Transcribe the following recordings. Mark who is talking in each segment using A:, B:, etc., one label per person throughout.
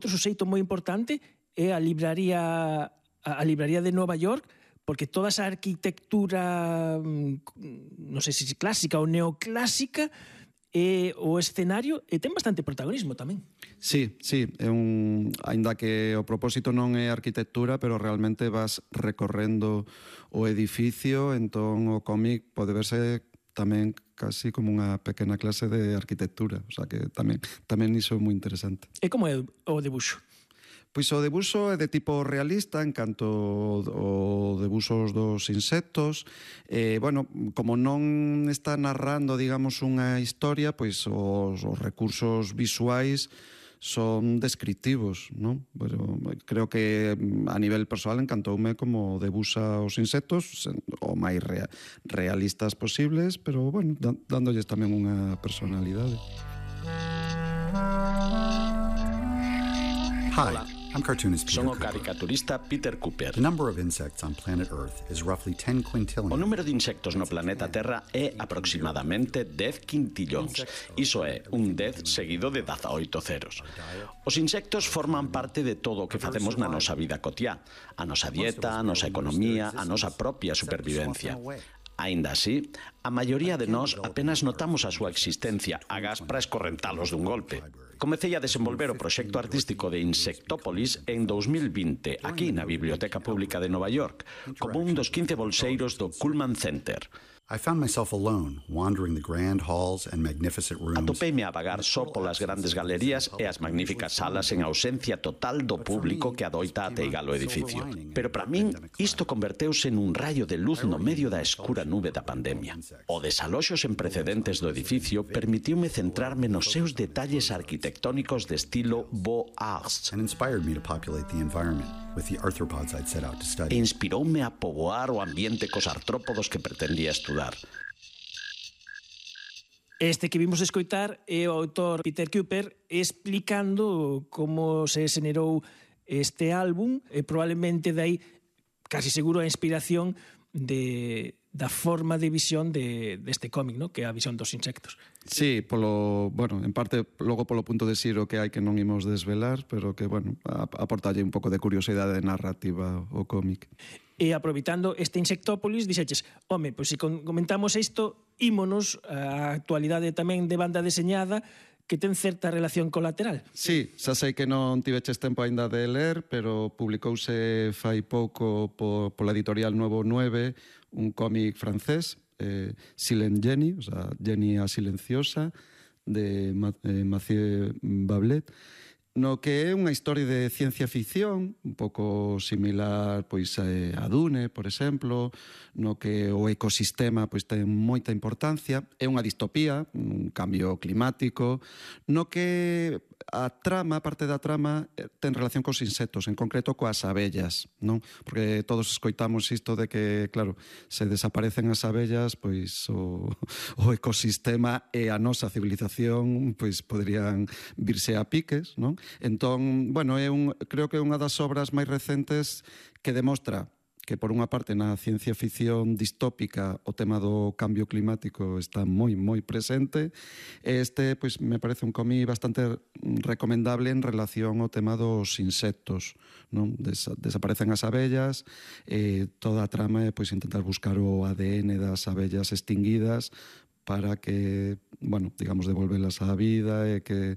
A: Outro suxeito moi importante é a libraría de Nova York, porque toda esa arquitectura, non sei se clásica ou neoclásica, o escenario ten bastante protagonismo tamén.
B: Sí, aínda que o propósito non é arquitectura, pero realmente vas recorrendo o edificio, entón o cómic pode verse tamén casi como unha pequena clase de arquitectura, o sea que tamén iso é moi interesante.
A: E como é o debuxo?
B: Pois o debuxo é de tipo realista en canto o debuxos dos insectos. Bueno, como non está narrando, digamos, unha historia, pois os recursos visuais son descriptivos, non? Pero creo que a nivel persoal encantoume como debuxa os insectos o máis realistas posibles, pero, bueno, dándolles tamén unha personalidade.
C: Hi, I'm cartoonist Peter
D: Son o
C: Cooper.
D: caricaturista Peter Cooper.
C: The number of insects on planet Earth is roughly 10 quintillion.
D: O número de insectos no planeta Terra é aproximadamente 10 quintillóns. Iso é un 10 seguido de 18 ceros. Os insectos forman parte de todo o que facemos na nosa vida cotiá. A nosa dieta, a nosa economía, a nosa propia supervivencia. Aínda así, a maioría de nós apenas notamos a súa existencia agás para escorrentalos dun golpe. Comecei a desenvolver o proxecto artístico de Insectópolis en 2020, aquí na Biblioteca Pública de Nova York, como un dos 15 bolseiros do Cullman Center.
C: I found myself alone, wandering the grand halls and magnificent rooms.
D: Atopeime a vagar só polas grandes galerías e as magníficas salas en ausencia total do público que adoita ateigar o edificio. Pero para min, isto converteuse nun raio de luz no medio da escura nube da pandemia. O desaloxo sen precedentes do edificio permitiume centrarme nos seus detalles arquitectónicos de estilo Beaux Arts.
C: And inspired me to populate the environment with the arthropods I'd set out to
D: E
C: study.
D: inspiroume a poboar o ambiente cos artrópodos que pretendía estudar.
A: Este que vimos escoitar é o autor Peter Cooper explicando como se xenerou este álbum e probablemente dai casi seguro a inspiración da forma de visión deste cómic, ¿no? Que é a visión dos insectos.
B: Sí, en parte logo polo punto de xiro que hai que non imos desvelar, pero que, bueno, aportalle un pouco de curiosidade narrativa ao cómic.
A: E aproveitando este Insectópolis, dixeches, home, pois se comentamos isto, ímonos a actualidade tamén de banda deseñada que ten certa relación colateral.
B: Sí, xa sei que non tiveches tempo aínda de ler, pero publicouse fai pouco pola editorial Nuevo 9 un cómic francés, Silent Jenny, o sea, Jenny a silenciosa, de Mathieu Bablet, no que é unha historia de ciencia ficción, un pouco similar pois a Dune, por exemplo, no que o ecosistema pois ten moita importancia, é unha distopía, un cambio climático, no que parte da trama ten relación cos insectos, en concreto coas abellas, non? Porque todos escoitamos isto de que, claro, se desaparecen as abellas, pois o ecosistema e a nosa civilización pois poderían virse a piques, non? Entón, bueno, creo que é unha das obras máis recentes que demostra que, por unha parte, na ciencia ficción distópica o tema do cambio climático está moi, moi presente. Este, pois, me parece un cómic bastante recomendable en relación ao tema dos insectos, non? Desaparecen as abellas, toda a trama é, pois, intentar buscar o ADN das abellas extinguidas para que, bueno, digamos, devolvelas á vida e que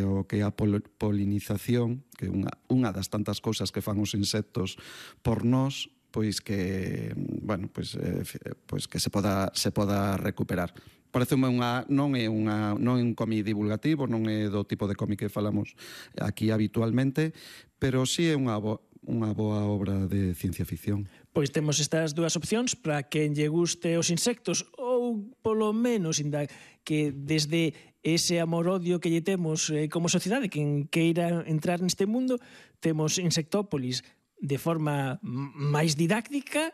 B: o que a polinización, que é unha das tantas cousas que fan os insectos por nós, pois que, bueno, pois que se poda recuperar. Pareceme non é un cómic divulgativo, non é do tipo de cómic que falamos aquí habitualmente, pero sí é unha boa obra de ciencia ficción.
A: Pois temos estas dúas opcións para quen lle guste os insectos ou polo menos que desde ese amor-odio que lle temos como sociedade, quen queira entrar neste mundo, temos Insectópolis de forma máis didáctica,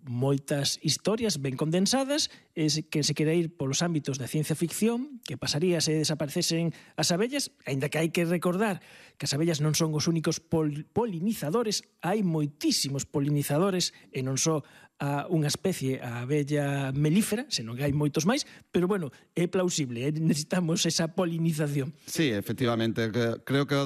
A: moitas historias ben condensadas, que se quere ir polos ámbitos da ciencia ficción, que pasaría se desaparecesen as abellas, aínda que hai que recordar que as abellas non son os únicos polinizadores, hai moitísimos polinizadores, e non só unha especie, a abella melífera, senón que hai moitos máis, pero bueno, é plausible, necesitamos esa polinización.
B: Sí, efectivamente, creo que o